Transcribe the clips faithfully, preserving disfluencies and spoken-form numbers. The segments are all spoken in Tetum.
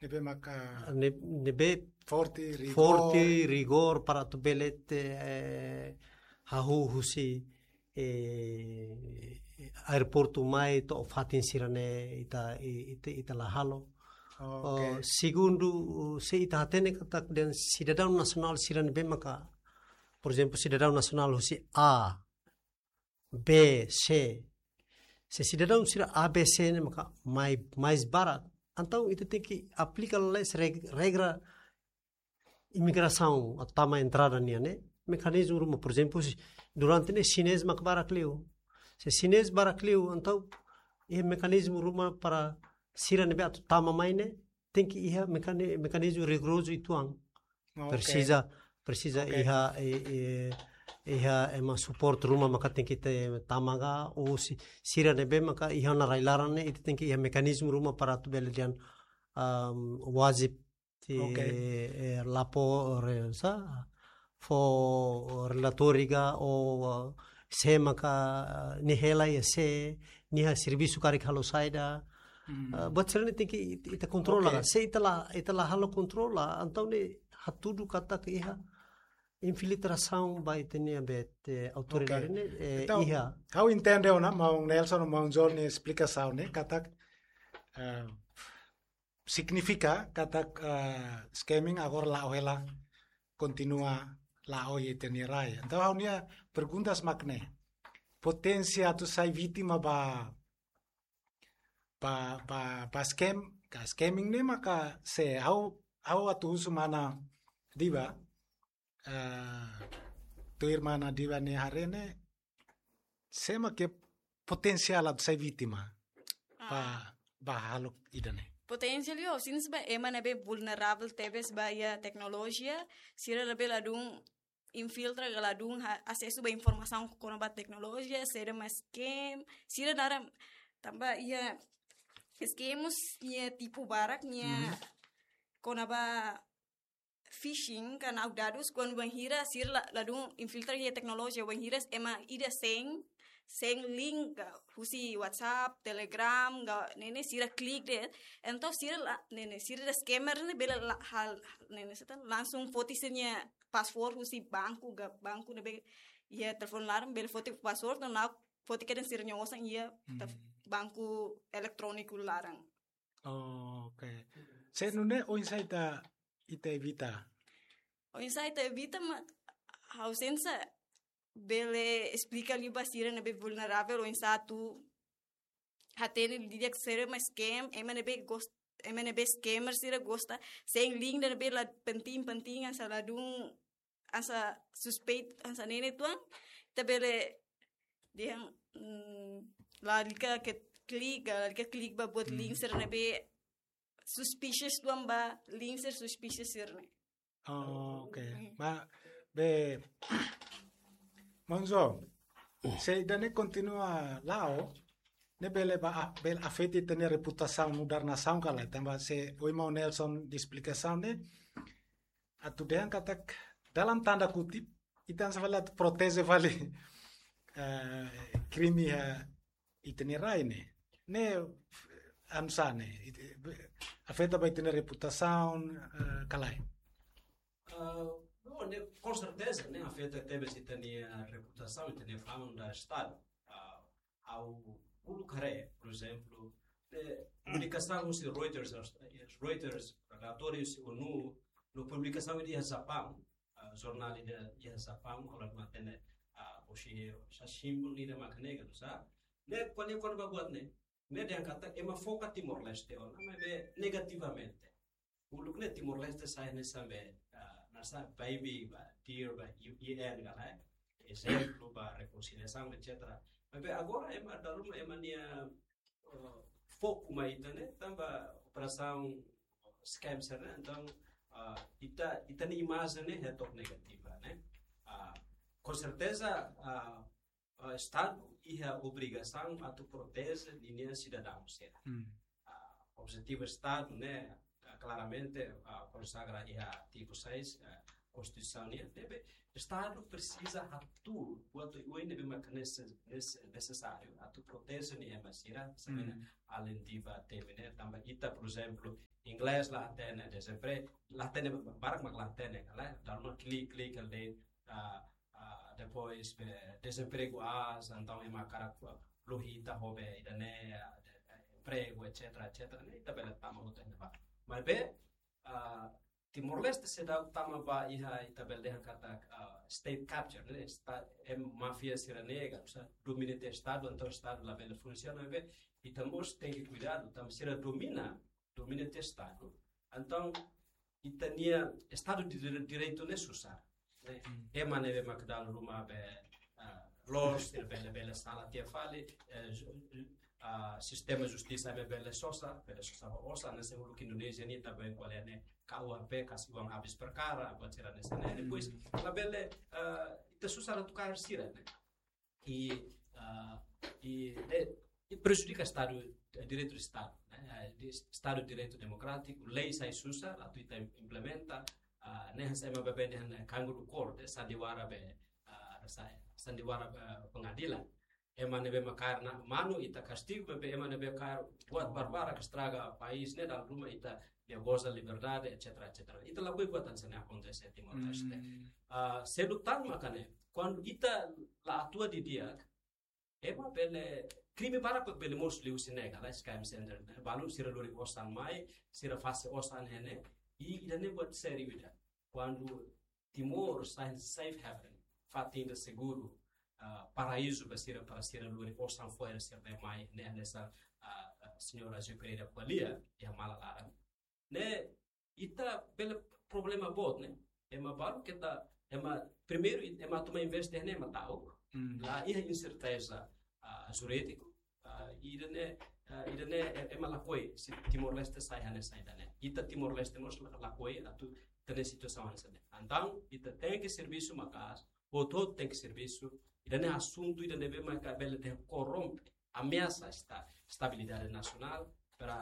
Ne'ebé maka ne, ne'ebé forte, rigor. Forte, rigor para atu bele ita, eh, hahú husi, eh, aeroportu mai to'o fatin sira-ne'e ita, i-, ita, ita la halo. Oh, oke. Oh, segundu, se ita hatene katak dehan sidadaun nasionál sira ne'ebé maka, por ezemplu, sidadaun nasionál husi A, B, C. Se sidadaun sira A, B, C ne'e maka mai, mais barak. Entaun ita tenke aplika lalais reg-, regra imigrasaun atu tama entrada nian ne'e. Mekanizmu ruma, por ezemplu, se durante ne'e xinés maka barak liu. Se xinés barak liu, entaun iha mekanizmu ruma para sira ne'ebé atu tama mai ne'e, tenke iha mekani-, mekanizmu rigorozu uitoan. Ok. Presiza, presiza Ok. iha, eh, eh, iha ema suporta ruma maka tenke tama ka, ou se sira ne'ebé maka iha ona rai-laran ne'e, ita tenke iha mekanizmu ruma para atu bele dehan, um, wajib atu, Ok. eh, lapor, eh, sá, fó relatóriu ka, ou, uh, sé maka, uh, nia hela iha sé, nia servisu karik halo saida. Hmm. Uh, buat sira-ne'e tenke it-, ita kontrola. Ok. Se ita la, ita la halo kontrola, entaun ne'e hatudu katak iha infiltrasaun ba ita-nia be, eh, autoridade Ok. ne'e, eh, Entaun, iha. Ha'u entende ona, maun Nelson, maun João nia esplikasaun ne'e, katak, eh, signifika katak, eh, scamming agora la'o hela, kontinua la'o iha ita-nia rai. Entaun ha'u-nia pergunta mak ne'e. Poténsia atu sai vítima ba, ba, ba, ba scam, ka scamming ne'e maka sé, ha'u, ha'u atu husu mana Diva, eh, tuir mana Diva nia haree ne'e, sé mak iha poténsiál atu sai vítima ba, Ah. ba hahalok ida-ne'e. Poténsiál liu, sira ba ema ne'ebé vulneravel tebes ba iha teknolojia, sira ne'ebé ladún infiltra ka ladún ha-, asesu ba informasaun kona-ba teknolojia, sira mak scam, sira naran tanba iha scam mós iha tipu barak, iha Mhm. kona-ba phishing ka na'ok dadus, kuandu bainhira sira la-, ladún infiltra iha teknolojia, bainhira ema ida send, send link ka husi WhatsApp, Telegram, ka ne'e ne'e sira klik de'it, entaun sira la, ne'e ne'e sira scammer ne'e bele la-, hal, ne'e ne'e seta langsung foti sira-nia password husi banku, ka banku ne'ebé iha telefone laran bele foti password, no na'ok foti kedas sira-nia osan iha Hmm. tef-, banku eletróniku laran. Oh, ok. Se nune'e oinsá ita, ita evita? Oinsá ita evita mak ha'u sente bele esplika liu ba sira ne'ebé vulneravel oinsá atu hatene didi'ak sira mak scam, ema ne'ebé gos-, ema ne'ebé scammer sira gosta send link ne'ebé la penting-penting, hanesan ladún, hanesan suspeitu, hanesan ne'e ne'e uitoan, ita bele dehan, mm, lalika ke klik, lalika klik ba buat Hmm. link sira ne'ebé suspicious uitoan, ba link sira suspicious sira-ne'e. Oh, ok. Mm. Ba, be, maun João, se ida-ne'e kontinua la'o, ne'e bele ba, bele afeta ita-nia reputasaun nu'udar nasaun ka lae, tanba se ohin maun Nelson nia esplikasaun ne'e, atu dehan katak dalam tanda kutip, ita hanesan fali atu proteje fali, eh, krime iha ita-nia rai ne'e. Ne'e, anu sá ne'e, it-, afeta ba ita-nia reputasaun, eh, ka lae? Ah, bom, ne'e, com certeza, ne'e afeta tebes ita-nia reputasaun, ita-nia fama nu'udar Estadu. Ah, ha'u uluk haree, por ezemplu, ne'e, publikasaun husi Reuters, Reuters, relatóriu husi ONU, no publikasaun iha Japaun, ah, jornál iha, iha Japaun, ha'u la hatene, ah, ohin, Shimbun ida mak ne'e, ka sá. Ne'e, kuandu, kuandu ba buat ne'e, ne'e dehan katak ema foka Timor-Leste ona, maibé negativamente. Uluk ne'e Timor-Leste sai hanesan be, ah, hanesan baby ba, dear ba, U N ka lae. Ezemplu ba rekonsiliasaun, et cetera. Maibé agora ema dala ruma ema nia, eh, foku mai ita-nia, tanba operasaun scam sira-ne'e, entaun, ah, ita, ita-nia imajen ne'e hetok negativa, ne'e. Ah, com certeza, ah, ah, Estadu iha obrigasaun atu proteje ninia sidadaun sira. Hmm. Ah, objetivu Estadu ne'e, ah, klaramente, ah, konsagra iha artigu seis, ah, konstituisaun nian, ne'ebé Estadu presiza atu, atu ui ne'ebé maka nese-, nese-, nesesáriu atu proteje nia ema sira, samena alin diva temi ne'e, tanba ita, por ezemplu, inglés la hatene, dezempre-, la hatene, barak mak la hatene, kala, dala ruma klik, klik, kala, ah, ah, depois, be, dezempregu aas, entaun ema hakarak, ah, luhi ita ho be, ida-ne'e, ah, de, eh, empregu, et cetera, et cetera, ne'e, ita bele tama hotu iha ne'ebá. Maibé, ah, Timor-Leste seidauk tama ba iha ita bele dehan katak, ah, state capture, ne'e? Esta-, em máfia sira nega, usa domina tiha Estadu, entaun Estadu labele funsiona, be, ita mós tenke kuidadu, tanba sira domina, domina tiha Estadu. Entaun, ita-nia Estadu de dire-, Direitu ne'e susar, ne'e? Ema ne'ebé mak dala ruma be, ah, loos, sira bele, bele sala tiha fali, eh, ju-, ju-, ah, sistema justisa ne'e bele sosa, bele sosa ho osan, hanesan uluk Indonézia nian, ita bele ko'alia ne'e, K U H P, kasi uang habis perkara, buat sira hanesan ne'e. Depois, labele, ah, ita susar atu kaer sira, ne'e? I, ah, i, eh, i prejudika Estadu, eh, direitu de Estadu, ne'e? Eh, de Estadu de Direitu Demokrátiku, lei sai susar, atu ita implementa, ah, ne'e hanesan ema baibain dehan, eh, kanguru korte, sandiwara be, ah, sai, sandiwara be pengadilan. Ema ne'ebé mak kaer ona manu ita kastigu, maibé ema ne'ebé kaer buat barbarak estraga país ne'e dala ruma ita dehan goza liberdade, et cetera, et cetera. Ita lakohi buat hanesan ne'e akontese Timor-Leste. Ah, seluk tan maka ne'e, kuandu ita la atua didi'ak, ema bele, krime barak bele mosu liuhusi ne'e, kala, scam center, ne'e? Balu sira lori osan mai, sira fase osan iha ne'e, i ida-ne'e buat sériu ida. Kuandu Timor sai safe haven, fatin ida seguru, ah, paraízu ba sira para sira lori osan fo'er sira-ne'e mai, ne'e hanesan, ah, ah, señór Azeu Pereira ko'alia iha mala laran. Ne'e, ita bele problema boot, ne'e? Ema balu keta, ema, primeiru, ema tuma investe ne'e ema ta'uk, la iha inserteza, ah, jurídiku, ah, ida-ne'e, ah, ida-ne'e, e-, ema lakohi, se Timor-Leste sai hanesan ida-ne'e. Ita Timor-Leste mós la-, lakohi atu ita-nia situasaun hanesan ne'e. Entaun, ita tenke servisu maka'as, hotu-hotu tenke servisu, ida-ne'e asuntu ida ne'ebé maka bele dehan korrompe, ameasa esta-, estabilidade nasionál, para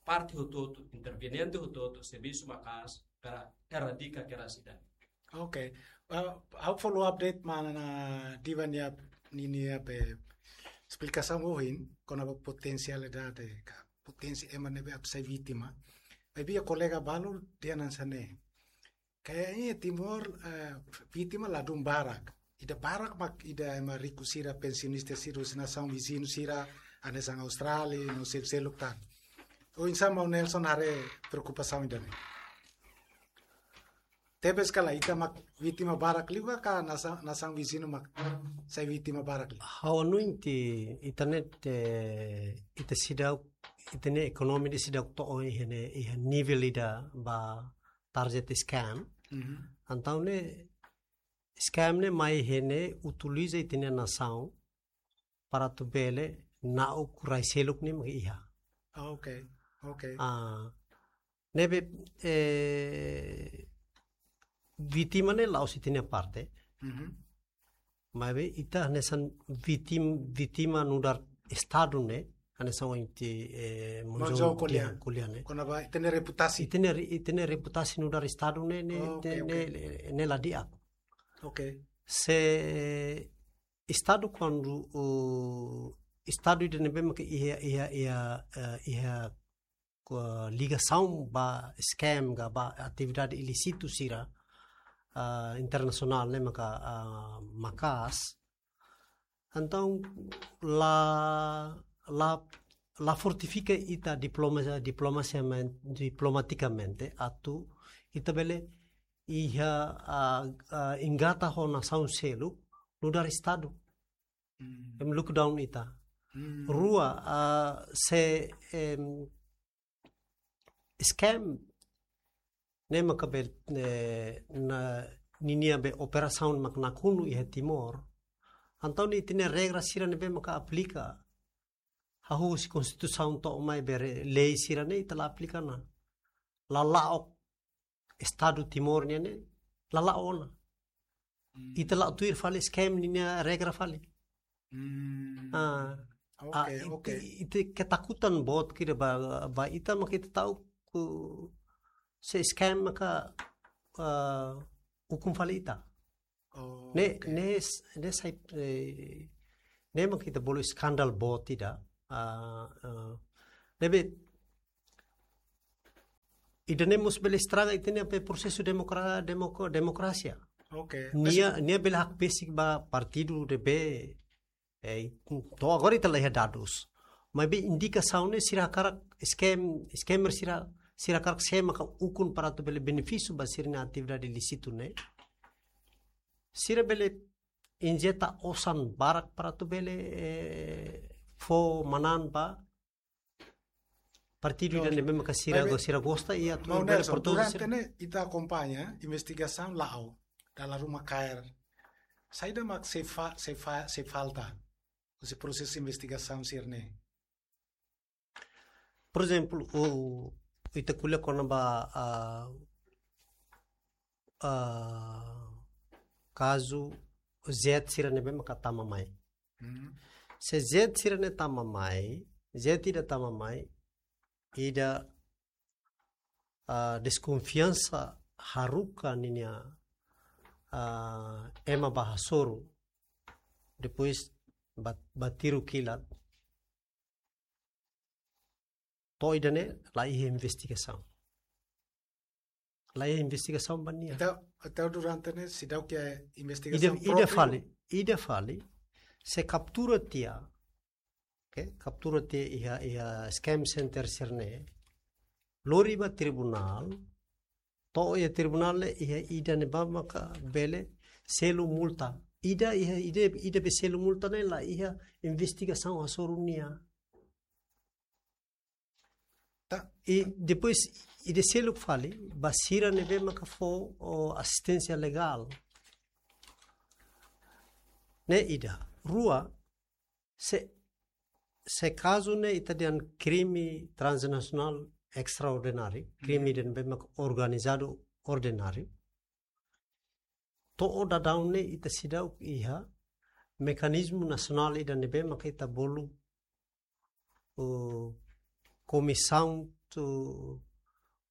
parte hotu-hotu, interveniente hotu-hotu, servisu maka'as, para eradika kedas ida-ne'e. Ok. Ah, ha'u follow up de'it mana Diva nia, ni-, nia be esplikasaun ohin, kona-ba potensialidade, ka potensi ema ne'ebé atu sai vítima. Maibé iha kolega balu dehan hanesan ne'e. Kayaknya Timor, eh, vítima ladún barak. Ida barak mak ida ema riku sira, pensionista sira, husi nasaun viziñu sira, hanesan Austrália, no seluk-seluk tan. Oinsá maun Nelson haree preokupasaun ida-ne'e? Tebes kala ita mak vítima barak liu ka, ka nasa-, nasaun viziñu mak sai vítima barak liu? Ha'u hanoin ita-nia, eh, ita seidauk, ita-nia ekonomia ida seidauk to'o iha ne'e, iha nivel ida ba target scam. Mhm. Entaun ne'e, scam ne'e mai iha ne'e utiliza ita-nia nasaun para atu bele na'ok rai seluk ne'e mak iha. Ah, ok, ok. Ah, ne'ebé, eh, vítima ne'e la'ós ita-nia parte. Mhm. Maibé ita hanesan vítim-, vítima nu'udar Estadu ne'e, hanesan ohin, eh, Monjong Monjong ko'alia, ko'alia, ko'alia ne'e. Kona-ba ita-nia reputasi. Ita-nia re-, ita-nia reputasi nu'udar Estadu ne'e, ne'e, Oh, ok, ne'e, ok. ne'e, ne'e, ne'e la di'ak. Ok. Se Estadu kuandu, uh, Estadu ida ne'ebé maka iha, iha, iha, eh, iha ko-, ligasaun ba scam ka ba atividade ilísitu sira, ah, internasionál ne'e maka, ah, maka'as. Entaun la, la, la fortifika ita diploma-, diplomasiamen-, diplomatikamente atu ita bele iha, ah, ah, engata ho nasaun seluk nu'udar Estadu. Hmm. Em lockdown ita. Hmm. Rua, ah, se, em, scam ne'e maka be, eh, na, ninia be operasaun mak nakonu iha Timor. Entaun ne'e ita-nia regra sira ne'ebé maka aplika. Hahú husi konstituisaun to'o mai be re-, lei sira ne'e ita la aplika ona. La la'o Estadu Timor nian ne'e, la la'o ona. Hmm. Ita la'o tuir fali scam ninia regra fali. Hmm. Ah, Ok, ah, ok. ita, ita ketakutan boot kira ba, ba ita maka ita ta'uk se scam maka, ah, ukun fali ita. Oh, Ne'e, oke. ne'e, ne'e sai, eh, ne'e mak ita bolu eskandal boot ida. Ah, ah, ne'ebé, ida-ne'e mós bele estraga ita-nia prosesu demokra-, demoko-, demokrasia. Oke. Nia, nia bele hakbesik ba partidu ne'ebé, eh, to'o agora ita la iha dadus. Maibé indikasaun ne'e sira hakarak scam, scammer sira, sira hakarak scam maka ukun para atu bele benefísiu ba sira-nia atividade ilísitu ne'e. Sira bele injeta osan barak para atu bele, eh, fó manán ba partidu Yo, ida ne'ebé maka sira maibé, go-, sira gosta i atu Maun bele Nelson, produzi durante sira. Ne'e ita akompaña investigasaun la'o, dala ruma kaer. Saida mak sei fa-, sei fa-, sei falta. Husi prosesu investigasaun sira-ne'e. Por ezemplu, o, ita ko'alia kona-ba, ah, ah, kazu jet sira ne'ebé maka tama mai. Hmm. Se jet sira-ne'e tama mai, jet ida tama mai, ida, ah, deskonfiansa haruka ninia, ah, ema ba hasoru, depois ba, ba tiru kilat. To'o ida-ne'e la iha investigasaun. La iha investigasaun ba nia. Entaun, entaun durante ne'e seidauk iha Ida, investigasaun ida própriu. Fali, ida fali, se kaptura tiha, oke, kaptura tiha iha, iha scam center sira-ne'e, lori ba tribunál, to'o iha tribunál ne'e iha ida ne'ebá maka bele selu multa. Ida iha, ida, ida be selu multa ne'e la iha investigasaun hasoru nia. Ta- I depois, ida seluk fali, ba sira ne'ebé maka fó, o, asisténsia legál. Ne'e ida. Rua, se, se kazu ne'e ita dehan krime transnasionál estraordináriu, krime ida ne'ebé maka organizadu ordináriu. To'o daudaun ne'e ita seidauk iha mekanizmu nasionál ida ne'ebé maka ita bolu, eh, komisaun tu,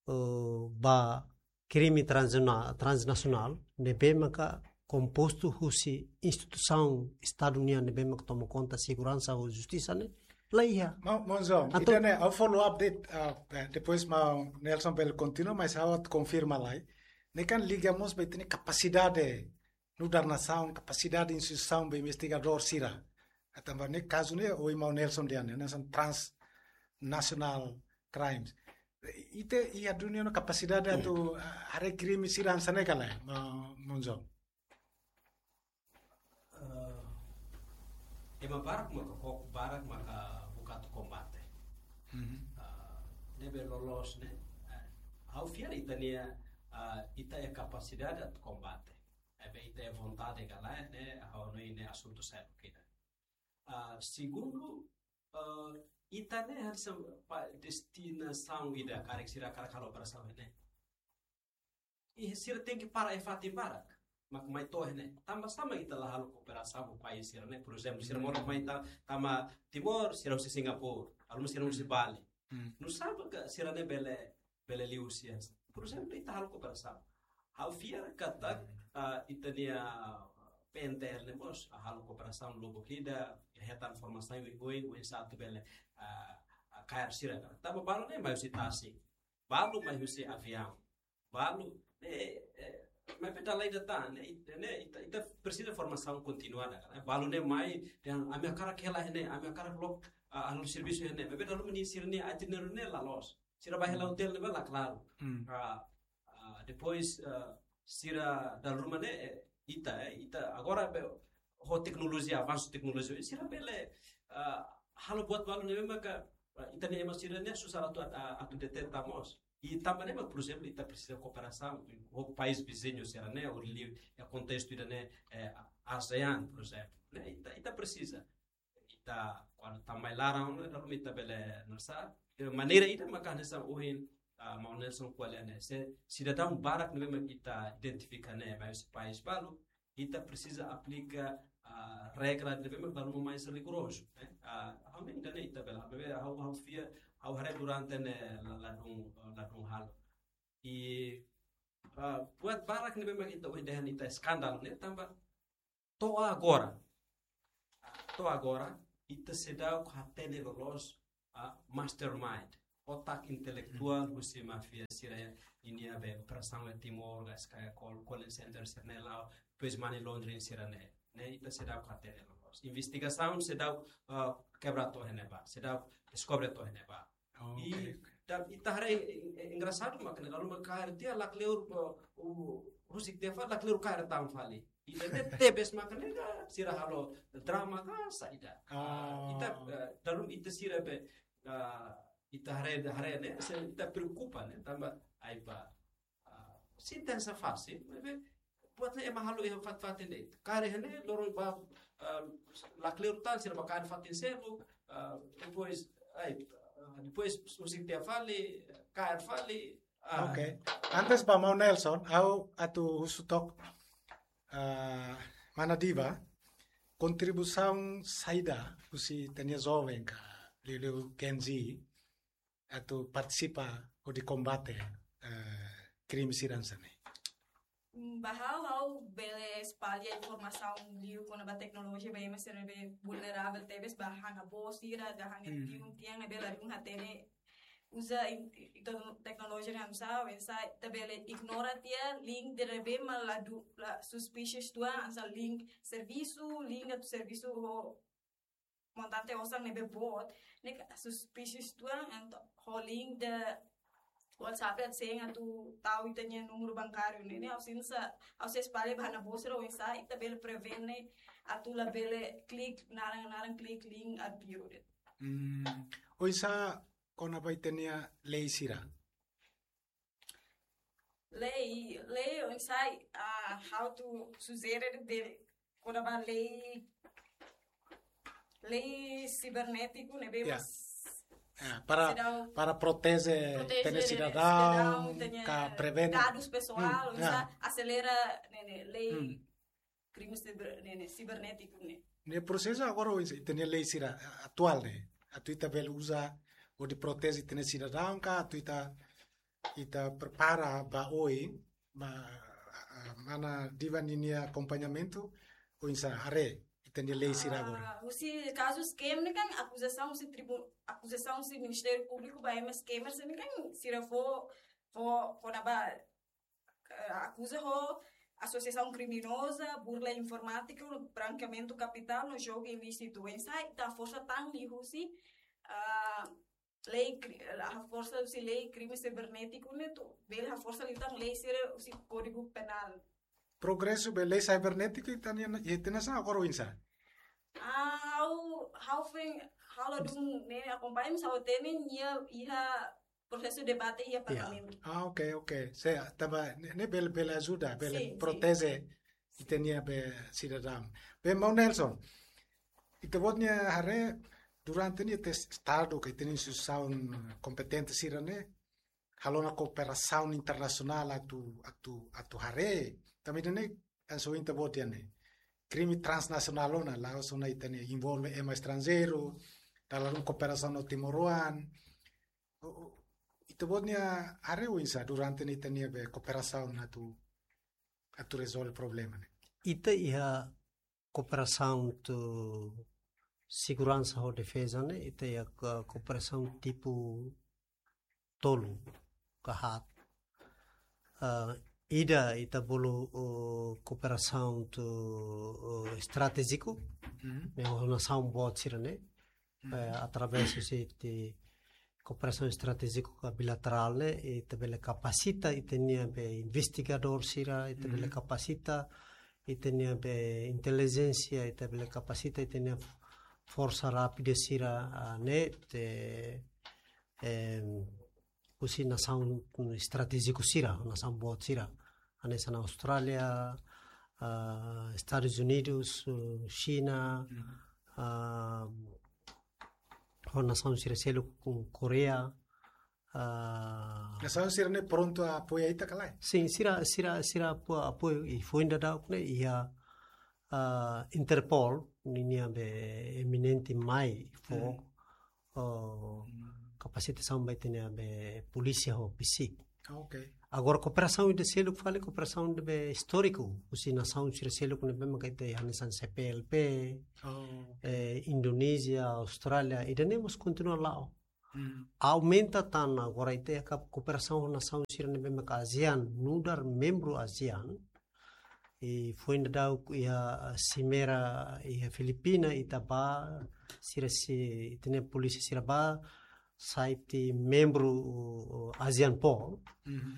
eh, ba krime transna-, transnasionál ne'ebé maka kompostu husi instituisaun Estadu nian ne'ebé maka toma konta seguransa ho justisa ne'e la iha. Maun, Maun João, Atu- ida-ne'e, ha'u follow up de'it, ah, eh, depois Maun Nelson bele kontinua, mas ha'u atu konfirma lai. Ne'e kan liga mós ba ita-nia kapasidade nu'udar nasaun, kapasidade instituisaun ba investigadór sira. Tanba ne'e kazu ne'e, ohin Maun Nelson dehan, ne'e hanesan transnational crimes. Ita iha duni ona kapasidade atu, ah, haree krime sira hanesan ne'e ka lae, Maun, Maun João? Eh, ema barak maka kok barak maka buka atu kombate. Mhm. Ah, ne'ebé loloos ne'e, eh, ha'u fiar ita-nia, ah, ita iha kapasidade atu kombate. Ne'ebé ita iha vontade ka lae, ne'e ha'u hanoin ne'e asuntu seluk ida. Ah, segundu, eh, ita ne'e harus pa destinasaun ida karik sira hakarak halo operasaun ne'e. I sira tenke para iha fatin barak mak mai to'o iha ne'e. Tanba sá mak ita la halo kooperasaun ho país sira-ne'e, por ezemplu, sira moras mai ta-, tama Timor, sira husi Singapura, alun sira husi Bali. Hmm. Nusá mak sira-ne'e bele, bele liuhusi? Por ezemplu, ita halo kooperasaun. Ha'u fiar katak, ah, ita-nia P N T L ne'e mós halo kooperasaun lubuk ida, hetan formasaun oioin, oinsá atu bele, ah, ah, kaer sira. Tanba balu ne'e mai husi tasi, balu mai husi aviaun, balu, eh, eh, maibé dala ida tan, ne'e, ne'e, ita, ita presiza formasaun kontinuada, kan? Balu ne'e mai, dehan ami hakarak hela iha ne'e, ami hakarak loke, ah, halo servisu iha ne'e. Maibé dala ruma nia sira-nia itineráriu ne'e la loos. Sira bá hela hotel ne'ebé la klaru. Hmm. Ah, ah, depois, ah, sira dala ruma ne'e, eh, ita, eh, ita agora be, ho teknolojia, avansu teknolojia, sira bele, ah, halo buat balu ne'ebé maka, ah, ita-nia ema sira-ne'e susar atu, atu, atu deteta mós. I tanba ne'e mak, por ezemplu, ita presiza kooperasaun ho país viziñu sira-ne'e, ou li, iha kontestu ida-ne'e, eh, ASEAN, por ezemplu. Ne'e, ita, ita presiza. Ita, kuandu tama iha laran, dala ruma ita bele nusá. Eh, maneira ida maka hanesan ohin, ah, Maun Nelson ko'alia ne'e. Se sidadaun barak ne'ebé mak ita identifika ne'e mai husi país balu, ita presiza aplika, ah, regra ne'ebé mak dala ruma mais rigorozu, ne'e? Ah, ha'u hanoin ida-ne'e ita bele, ha'u, ha'u fiar, ha'u haree durante ne'e la, ladún, ladún halo. I Ah, buat barak ne'ebé mak ita ohin dehan ita eskandál ne'e tanba to'o agora. To'o agora, ita seidauk hatene loloos, ah, mastermind, otak intelektuál husi máfia sira-nian, nia be operasaun iha Timor, gas kaya call, call center sira-ne'e la'o, depois money laundering sira-ne'e. Ne'e ita seidauk hatene loloos. Investigasaun seidauk, ah, kebra to'o iha ne'ebá, seidauk deskobre to'o iha ne'ebá. Oh, i, oke, oke. Dan ita haree, eh, engraxadu mak ne'e, lalu mak kaer tiha lakleur, eh, u, husik tiha fali lakleur kaer tan fali. Ida-ne'e tebes mak ne'e ka, sira halo drama ka saida. Ah. Ita, eh, dalam ita sira be, eh, ita haree, haree ne'e, se ita preokupa ne'e, tanba ai ba, ah, sentensa fasil, maibé buat ne'e ema halo iha fatin-fatin de'it. Kaer iha ne'e, loron ba, ah, lakleur tan, sira ba kaer fatin seluk, ah, depois, ai, ah, depois husik tiha fali, kaer fali, ah. Oke. Antes ba Maun Nelson, ha'u atu husu took, ah, mana Diva, kontribuisaun saida husi ita-nia joven ka liuliu Gen Z, atu partisipa hodi kombate, eh, krime sira hanesan ne'e? Mm, ba ha'u, ha'u bele espalla informasaun liu kona-ba teknolojia ba ema sira ne'ebé vulneravel tebes, ba han avó sira, ba han, hmm, tiun, tian ne'ebé ladún hatene uza in-, i-, i-, teknolojia ne'e oinsá, oinsá ita bele ignora tiha link ne'ebé mak ladún, la suspicious uitoan, hanesan link servisu, link atu servisu ho montante osan ne'ebé boot, ne'e ka suspicious uitoan, entaun ho link de WhatsApp atu send atu tau ita-nia númeru bankáriu ne'e, ne'e ha'u sente, ha'u sei espalla ba han avó sira oinsá ita bele prevene atu labele klik naran, naran klik link absurdu. Hmm, oinsá kona-ba ita-nia lei sira? Lei, lei oinsá, ah, ha'u atu sujere de kona-ba lei, lei sibernétiku ne'ebé, ya, mas, ya, para, seidauk, para proteje, proteje ita-nia, ita-nia sidadaun, sidadaun, ita-nia ka prevene dadus pesoál, hmm, oinsá, ya, aselera ne'e, ne'e, lei, hmm, krime siber-, ne'e, ne'e, sibernétiku ne'e. Ne'e prosesu agora oinsá, ita-nia lei sira atuál ne'e. Atu ita bele uza hodi proteje ita-nia sidadaun ka, atu ita, ita prepara ba oin, ma, ah, mana Diva ninia akompañamentu, oinsá haree ita-nia lei sira agora? Ah, husi kazu scam ne'e kan akuzasaun husi tribu-, akuzasaun husi Ministériu Públiku ba ema scammer sira ne'e kan sira fó, fó, fó kona-ba, eh, akuza ho asosiasaun kriminoza, burla informátika, brankeamentu kapitál, no jogu ilísitu. Oinsá ita haforsa tan liuhusi, ah, lei kri-, haforsa husi lei krime sibernétiku ne'e atu bele haforsa liután lei sira husi Kódigu Penál. Progresu ba lei sibernétiku ita-nia, ita-nia hanesan agora oinsá? Ah, ha'u, ha'u foin, ha'u ladún ne'e akompaña, mas ha'u hatene nia iha prosesu debate iha, ya, parlamentu. Ah, oke, oke. Se, tanba ne'e, ne'e bele, bele ajuda, bele, sin, sin, proteje ita-nia be sidadaun. Be, Maun Nelson, ita-boot nia haree durante ne'e ita Estadu ka ita-nia instituisaun kompetente sira-ne'e halo ona kooperasaun internasionál atu, atu, atu haree. Tanba ida-ne'e hanesan ohin ita-boot dehan ne'e krime transnasionál ona, la'ós ona ita-nia envolve ema estranjeiru, dala ruma kooperasaun ho timoroan. O, o, ita-boot nia haree oinsá durante ne'e ita-nia be kooperasaun atu, atu rezolve problema ne'e? Ita iha kooperasaun ho seguransa ho defeza ne'e, ita iha ko-, kooperasaun tipu tolu ka haat. Ah, ida ita bolu, oh, kooperasaun ho, oh, estratéjiku, mhm, ne'e ho nasaun boot sira-ne'e, mhm, eh, através husi kooperasaun estratéjiku ka bilaterál ne'e, ita bele kapasita ita-nia be investigadór sira, ita bele, mhm, kapasita ita-nia be intelijénsia, ita bele kapasita ita-nia forsa rápida sira, ah, ne'e, te, em, husi nasaun estratéjiku sira, nasaun boot sira. Hanesan Austrália, ah, Estadus Unidus, eh, Xina, mhm, ah, ho nasaun sira seluk, Koreia, ah, nasaun sira-ne'e prontu apoia ita ka lae? Sin, sira, sira, sira apo-, apoiu, i foin daudauk ne'e iha, ah, Interpol, ninia be eminente mai fó, hmm, oh, hmm, kapasitasaun ba ita-nia be polísia ho PCIC. Ok. Agora, kooperasaun ida seluk fali, kooperasaun ne'ebé istóriku, husi nasaun sira seluk ne'ebé maka ita hanesan C P L P, Oh. eh, Indonézia, Austrália, ida-ne'e mós kontinua la'o. Hmm. Aumenta tan agora ita iha kooperasaun ho nasaun sira ne'ebé maka ASEAN, nu'udar membru ASEAN. I foin daudauk iha simeira iha Filipina ita bá, sira sei, ita-nia polísia sira bá, sai tiha membru, uh, ASEANPOL. Mhm.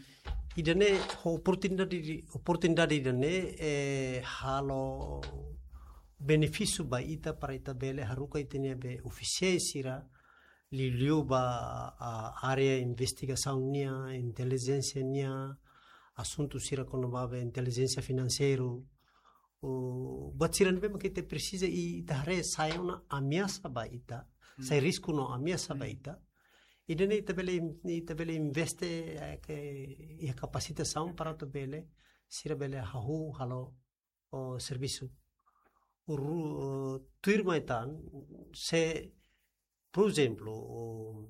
Ida-ne'e ho oportunidade, oportunidade ida-ne'e, eh, halo benefísiu ba ita para ita bele haruka ita-nia be ofisiál sira liuliu ba, ah, área investigasaun nian, intelijénsia nian, asuntu sira kona-ba be intelijénsia finanseiru. O, buat sira ne'ebé maka ita presiza i ita haree sai ona ameasa ba ita, Hmm. sai risku no ameasa ba Hmm. ita. Ida-ne'e ita bele, ita bele investe, eh, ke, iha kapasitasaun para atu bele, sira bele hahú halo, o, servisu. Ru-, o, tuirmai tan, se, por ezemplu, o,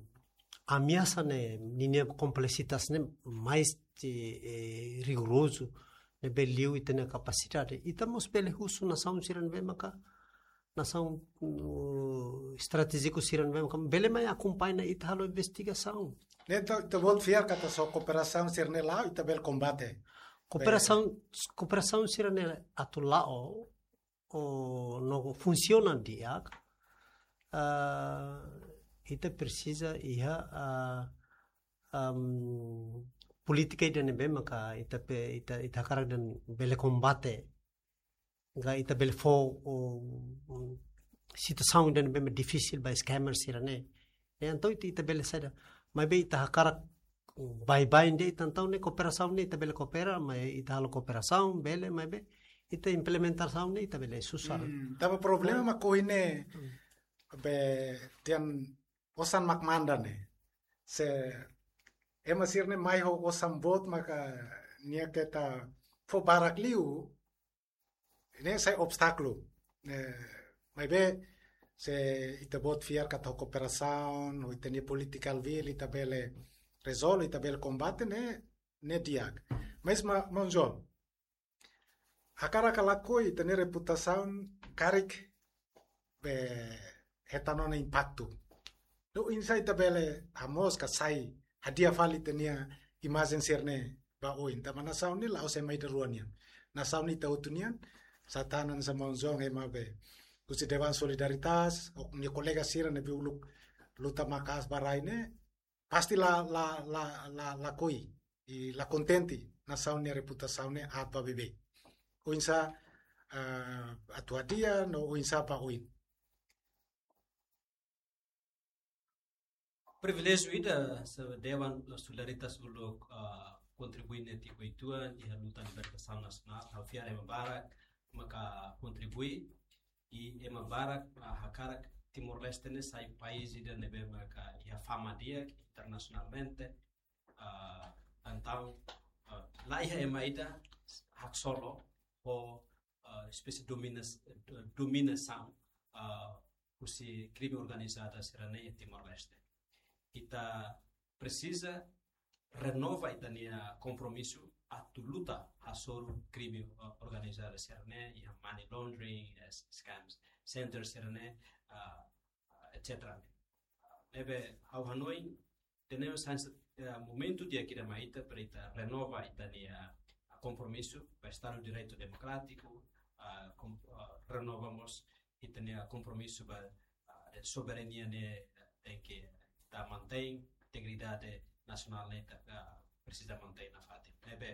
ameasa ne'e, ninia kompleksitas ne'e, mais, eh, rigorozu, ne'ebé liu ita-nia kapasidade. Ita mós bele husu nasaun sira ne'ebé maka, nasaun, uh, estratéjiku sira ne'ebé maka bele mai akompaña ita halo investigasaun. Ne'e ita, ita-boot fiar katak só kooperasaun sira-ne'e la'o, ita bele kombate. Kooperasaun, kooperasaun sira-ne'e atu la'o, o no funsiona di'ak, ah, ita presiza iha, ah, am, polítika ida ne'ebé maka ita pe, ita, ita hakarak dehan bele kombate. Ka ita bele fó, o, o, situasaun ida ne'ebé difisil ba scammer sira-ne'e. Ne'e entaun ita, ita bele saida. Maibé ita hakarak baibain de'it, entaun ne'e kooperasaun ne'e ita bele koopera, maibé ita halo kooperasaun, bele, maibé ita implementasaun ne'e ita bele susar. Hmm, tanba problema mak ohin ne'e Hmm. be dehan osan mak manda ne'e. Se ema sira-ne'e mai ho osan boot maka nia keta fó barak liu, ne'e sai obstákulu. Eh, maibé, se ita-boot fiar katak ho kooperasaun, ho ita-nia political will, ita bele rezolve, ita bele kombate, ne'e, ne'e di'ak. Mas ma, maun João, hakarak ka lakohi ita-nia reputasaun karik be hetan ona impaktu. No oinsá ita bele hamoos ka sai hadi'a fali ita-nia imajen sira-ne'e ba oin. Tanba nasaun ne'e la'ós ema ida rua nian. Nasaun ne'e ita hotu nian, sá tan hanesan maun João ema be husi Dewan Solidaritas, ho nia kolega sira ne'ebé uluk luta maka'as ba rai ne'e, pasti la, la, la, la, lakohi, i la kontente nasaun nia reputasaun ne'e aat ba beibeik. Oinsá, eh, atu hadi'a, no oinsá ba oin. Priviléjiu ida, se Dewan Solidaritas uluk, ah, kontribui netik uitoan iha luta libertasaun nasionál, ha'u fiar ema barak maka kontribui, i ema barak, ah, hakarak Timor-Leste ne'e sai país ida ne'ebé maka iha fama di'ak internasionalmente, ah, entaun, ah, la iha ema ida haksolok ho, ah, espésie dominas-, dominasaun, ah, husi krime organizada sira-ne'e iha Timor-Leste. Ita presiza renova ita-nia kompromisu atu luta hasoru krime, ah, organizada sira-ne'e, iha money laundering, eh, scams, center sira-ne'e, ah, ah, et cetera. Ne'ebé ha'u hanoin, tenemos hanesan, eh, momentu di'ak ida mai ita para ita renova ita-nia, ah, kompromisu ba Estadu Direitu Demokrátiku, ah, kom-, ah, renova mós ita-nia kompromisu ba, ah, soberania ne'e, eh, tenke ita mantein, integridade nasionál ne'e ita, ah, presiza mantein nafatin. Ne'ebé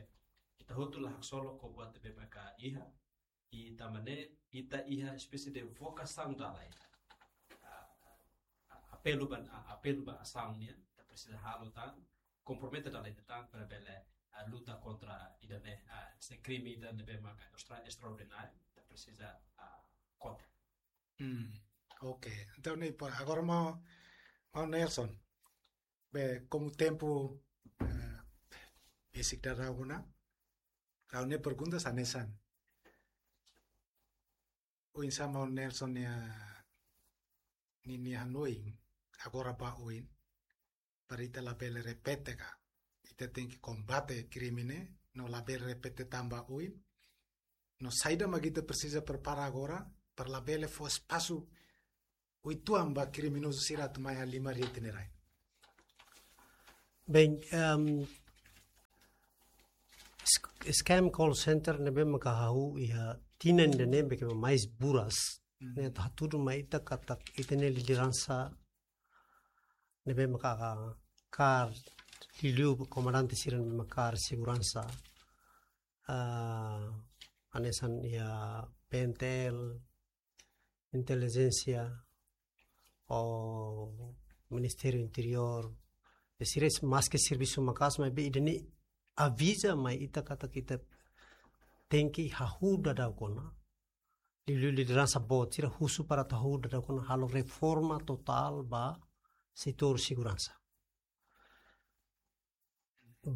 ita hotu la haksolok ho buat ne'ebé maka iha, i tanba ne'e ita iha espésie de vokasaun dala ida. Ah, ah, apelu ba, ah, apelu ba asaun nian, ita presiza halo tan, kompromete dala ida tan, para bele, ah, luta kontra ida-ne'e, ah, se krime ida ne'ebé maka extra-, extraordináriu, ita presiza, ah, kontra. Hmm, ok. Entaun, ne'e, pa, agora maun, maun Nelson. Be, komu tempu, eh, besik daudaun ona, ha'u-nia pergunta hanesan. Oinsá maun Nelson nia, ni, nia hanoin, agora ba oin, para ita labele repete ka. ita tenke kombate krime ne'e, no labele repete tan ba oin. No saida mak ita presiza prepara agora, para labele fó espasu uitoan ba kriminozu sira atu mai halimar iha ita-nia rai. Bem, ehm, sk-, scam call center ne'ebé maka hahú iha tinan ida-ne'e ne'ebé ke mais buras. Hmm. Ne'e atu hatudu mai ita katak ita-nia lideransa ne'ebé maka kaer liuliu komandante sira ne'ebé maka kaer seguransa. Ah, hanesan iha P N T L, intelijénsia, ou Ministériu Interiór, e sira maske servisu maka'as, maibé ida-ne'e aviza mai ita katak ita tenke hahú daudauk ona. Liuliu lideransa boot sira husu para atu hahú daudauk ona halo reforma totál ba setór seguransa.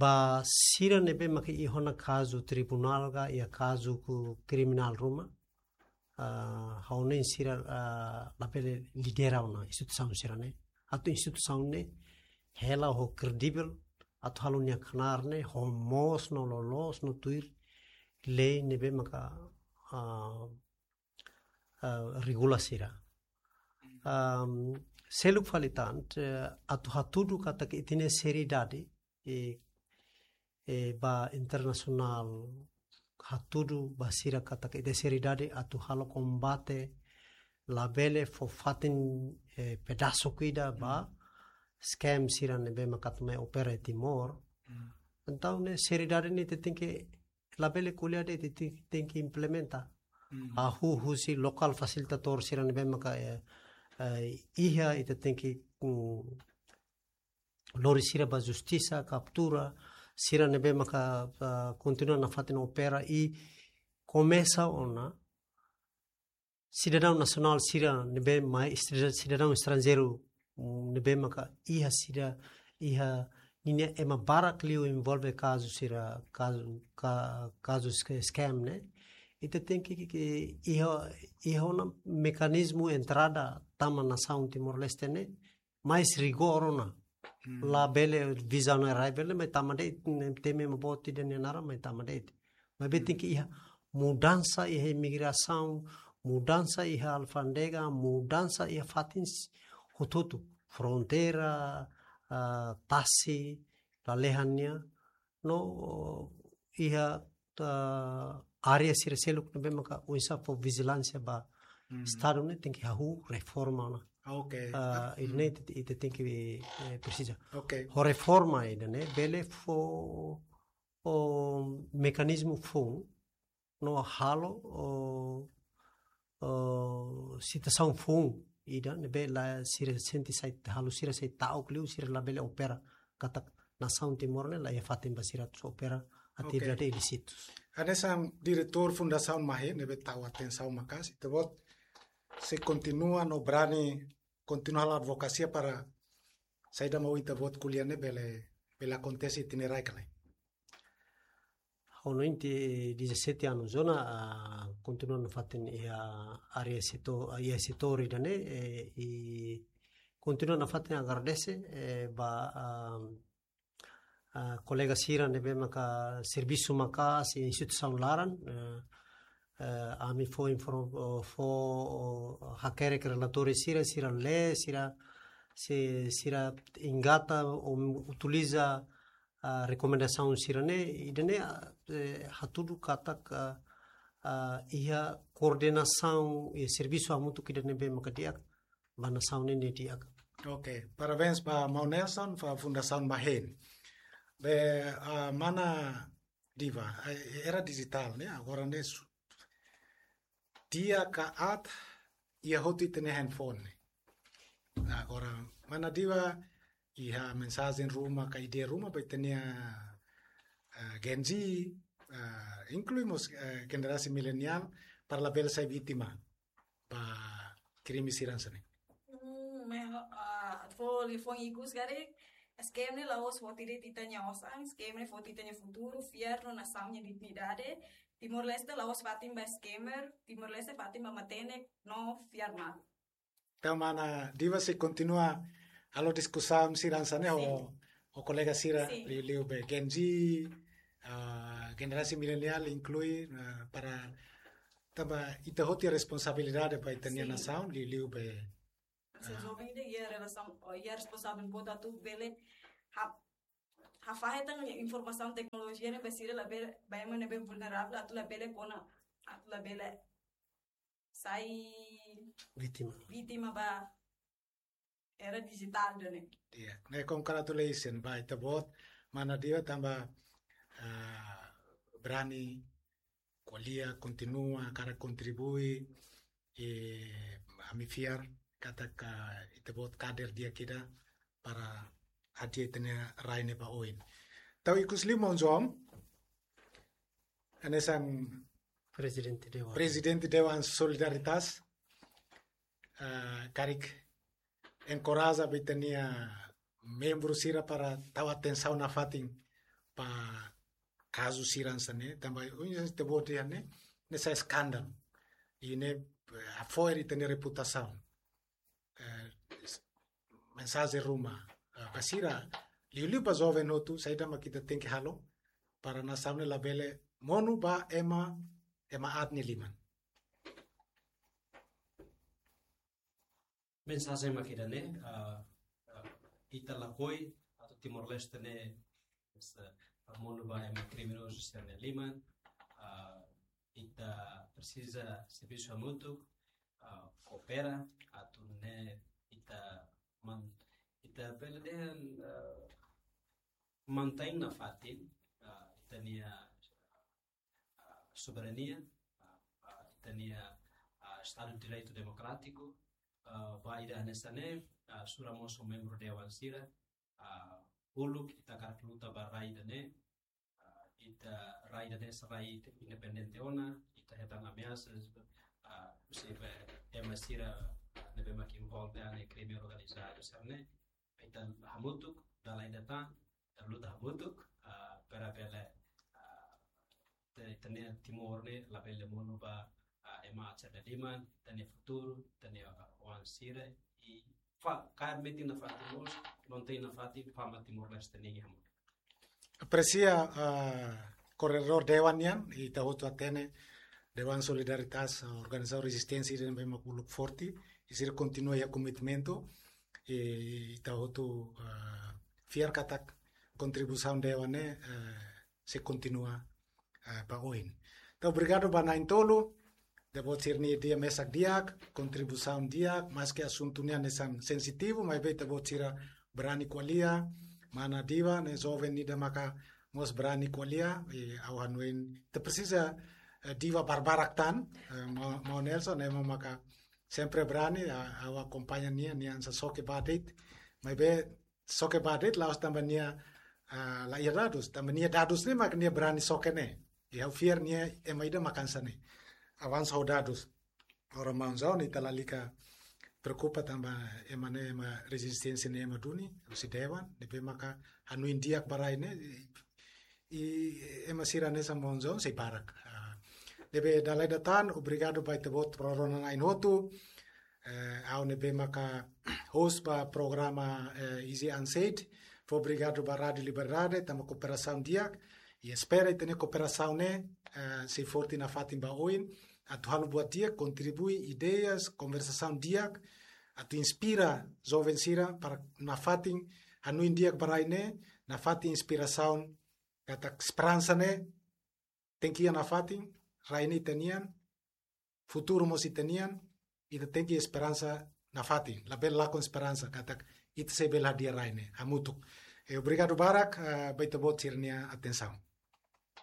Ba sira ne'ebé maka iha ona kazu tribunál ka iha kazu kriminál ruma, ah, ha'u hanoin sira, ah, labele lidera ona instituisaun sira-ne'e. Atu instituisaun ne'e hela ho kredivel, atu halo nia knaar ne'e ho moos no loloos no tuir lei ne'ebé maka, ah, ah, regula sira. Am, seluk fali tan, eh, atu hatudu katak ita-nia seriedade, eh, eh, ba internasionál hatudu ba sira katak ita-nia seriedade atu halo kombate labele fó fatin, eh, pedasu ida ba scam sira ne'ebé maka atu mai opera iha Timor. Hmm. Entaun ne'e seriedade ne'e ita tenke labele ko'alia de'it, ita tenke implementa. Hmm. Hahú husi lokál fasilitadór sira ne'ebé maka, eh, eh, iha ita tenke, mm, lori sira ba justisa, kaptura sira ne'ebé maka, ah, kontinua nafatin opera i komesa ona sidadaun nasionál sira ne'ebé mai, sida-, sidadaun estranjeiru, mm, ne'ebé maka iha sira, iha ninia ema barak liu envolve kazu sira, kazu, ka-, kazu ske-, scam ne'e. Ita tenke, ke, ke, iha, iha ona mekanizmu entrada tama nasaun Timor-Leste ne'e mais rigór ona. Hmm. Labele visa on arrival, mai tama de'it, temi ema boot ida nia naran, mai tama de'it. Maibé, hmm, tenke iha mudansa iha imigrasaun, mudansa iha alfándega, mudansa iha fatin s-, hotu-hotu. Fronteira, ah, tasi, lalehan nian, no iha, ah, área sira seluk ne'ebé maka oinsá fó vijilánsia ba, hmm, Estadu ne'e tenke hahú reforma ona. Ok. Ah, hmm, ida-ne'e ita, ita tenke, eh, presiza. Ok. Ho reforma ida-ne'e bele fó, o, mekanizmu foun no halo, o, o, situasaun foun ida ne'ebé la sira sente sai, halo sira sai ta'uk liu, sira labele opera katak nasaun Timor ne'e laiha fatin ba sira atu opera atividade, ok, ilísitus. Hanesan diretór Fundasaun MAHET ne'ebé tau atensaun maka'as, ita-boot sei kontinua no brani kontinua halo advokasia para saida mak ohin ita-boot ko'alia ne'e bele, bele akontese iha ita-nia rai ka lae? Ha'u hanoin tiha dezassete anos ona, ah, kontinua nafatin iha área setór, ah, iha setór ida-ne'e, eh, i kontinua nafatin agradese, eh, ba, ah, ah, kolega sira ne'ebé maka servisu maka'as iha instituisaun laran, eh, eh, ami fó inform-, oh, fó, oh, hakerek relatóriu sira, sira lee, sira, si-, sira engata, ou utiliza, ah, rekomendasaun sira-ne'e, ida-ne'e, ah, eh, hatudu katak, ah, ah, iha koordenasaun, iha servisu hamutuk ida ne'ebé maka di'ak ba nasaun ne'e di'ak. Ok, parabéns ba Maun Nelson, ba Fundasaun MAHET. Be, ah, mana Diva, ah, era dijitál ne'e, agora ne'e su-, di'ak ka aat, iha hotu ita-nia handphone ne'e. Agora, mana Diva, iha mensajen ruma ka ideia ruma ba ita-nia, ah, Gen Z, ah, inklui mós, ah, generasi mileniál, para labele sai vítima ba krime sira hanesan ne'e? Hmm, meho-, ah, atu fó liafuan ikus karik, scam ne'e la'ós foti de'it ita-nia osan, scam ne'e foti ita-nia futuru, fiar no nasaun nia dignidade. Timor-Leste la'ós fatin ba scammer, Timor-Leste fatin ba matenek no fiar malu. Entaun mana Diva sei kontinua halo diskusaun sira hanesan ne'e ho, sin, ho kolega sira, sin, liuliu be Gen Z, ah, generasi milenial inklui, ah, para tanba ita hotu iha responsabilidade ba ita-nia, sin, nasaun, liuliu be, se, ah, joven ida iha relasaun, oh, iha responsavel boot atu bele ha-, hafahe tan informasaun teknolojia ne'e ba sira labele, ba ema ne'ebé vulneravel atu labele kona, atu labele sai vítima, vítima ba era dijitál ida-ne'e. Iya, ne'e congratulations ba ita-boot, mana Diva tanba, ah, brani ko'alia, kontinua hakarak kontribui, i ami fiar katak ita-boot kader di'ak ida para hadi'a ita-nia rai ne'e ba oin. Tau ikus liu maun João, hanesan Prezidente Dewan, Prezidente Dewan Solidaritas, ah, karik enkoraja ba ita-nia membru sira para tau atensaun nafatin ba kazu sira hanesan ne'e, tanba ohin ita-boot dehan ne'e, ne'e sai eskandalu. I ne'e, eh, hafo'er ita-nia reputasaun. Eh, s-, mensajen ruma, eh, ba sira, liuliu ba joven hotu, saida mak ita tenke halo para nasaun ne'e labele monu ba ema, ema aat nia liman. Mensajen mak ida-ne'e, ah, ah, ita lakohi atu Timor-Leste ne'e, sa-, monu ba ema kriminozu sira-nia liman, ah, ita presiza servisu hamutuk, ah, koopera, atu nune'e ita man-, ita bele dehan, ah, mantein nafatin, ah, ita-nia, ah, soberania, ah, ah, ita-nia, ah, Estadu de Direitu Demokrátiku, ah, ba ida hanesan ne'e, ah, sura mós ho membru dewan sira, ah, uluk ita hakarak luta ba rai ida-ne'e, ah, ita rai ida-ne'e sai rai independente ona, ita hetan ameasas, ah, husi be ema sira, ah, ne'ebé mak envolve iha krime organizadu sira-ne'e, ita hamutuk, dala ida tan, ita luta hamutuk, ah, para bele, ah, te-, ita-nia Timor ne'e labele monu ba, ah, ema aat sira-nia liman, ita-nia futuru, ita-nia, ah, oan sira, i fa-, kaer metin nafatin mós, mantein nafatin, fama Timor-Leste nian hamutuk. Apresia, ah, koordenadór dewan nian, ita hotu hatene, Dewan Solidaritas, ah, organizasaun rezisténsia ida ne'ebé mak uluk forte, i sira kontinua iha komitmentu, i ita hotu, ah, fiar katak kontribuisaun dewan ne'e, ah, sei kontinua, ah, ba oin. Entaun, obrigadu ba na'in-tolu, ita-boot sira-nia ideia mesak di'ak, kontribuisaun di'ak, maski asuntu ne'e hanesan sensitivu, maibé ita-boot sira brani ko'alia, mana Diva ne'e joven ida maka mós brani ko'alia, i ha'u hanoin ita presiza, eh, Diva barbarak tan, eh, maun, maun Nelson, ne'e mak maka sempre brani, ah, ha'u akompaña nia, nia hanesan xoke ba de'it, maibé xoke ba de'it la'ós tanba nia, ah, la iha dadus, tanba nia dadus ne'e mak nia brani xoke ne'e. I ha'u fiar nia ema ida mak hanesan ne'e. Avansa ho dadus. Agora maun João, ita lalika preokupa tanba ema ne'e ema rezisténsia ne'e ema duni, husi dewan, ne'ebé maka hanoin di'ak ba rai ne'e, i, i ema sira hanesan maun João sei barak. Ah, ne'ebé dala ida tan, obrigadu ba ita-boot rona-rona na'in hotu. Eh, ha'u ne'ebé maka host ba programa, eh, Easy Unsaid. Fó obrigadu ba Rádiu Liberdade, tanba kooperasaun di'ak. I espera ita-nia kooperasaun ne'e, eh, sei forte nafatin ba oin. Atu halo buat di'ak, kontribui ideias, konversasaun di'ak. Atu inspira joven sira para nafatin hanoin di'ak ba rai ne'e, nafatin inspirasaun, katak esperansa ne'e tenke iha nafatin, rai ne'e ita-nian, futuru mós ita-nian, ita tenke esperansa nafatin, labele lakon esperansa, katak ita sei bele hadi'a rai ne'e, hamutuk. Eh, obrigadu barak, eh, ba ita-boot sira-nia atensaun.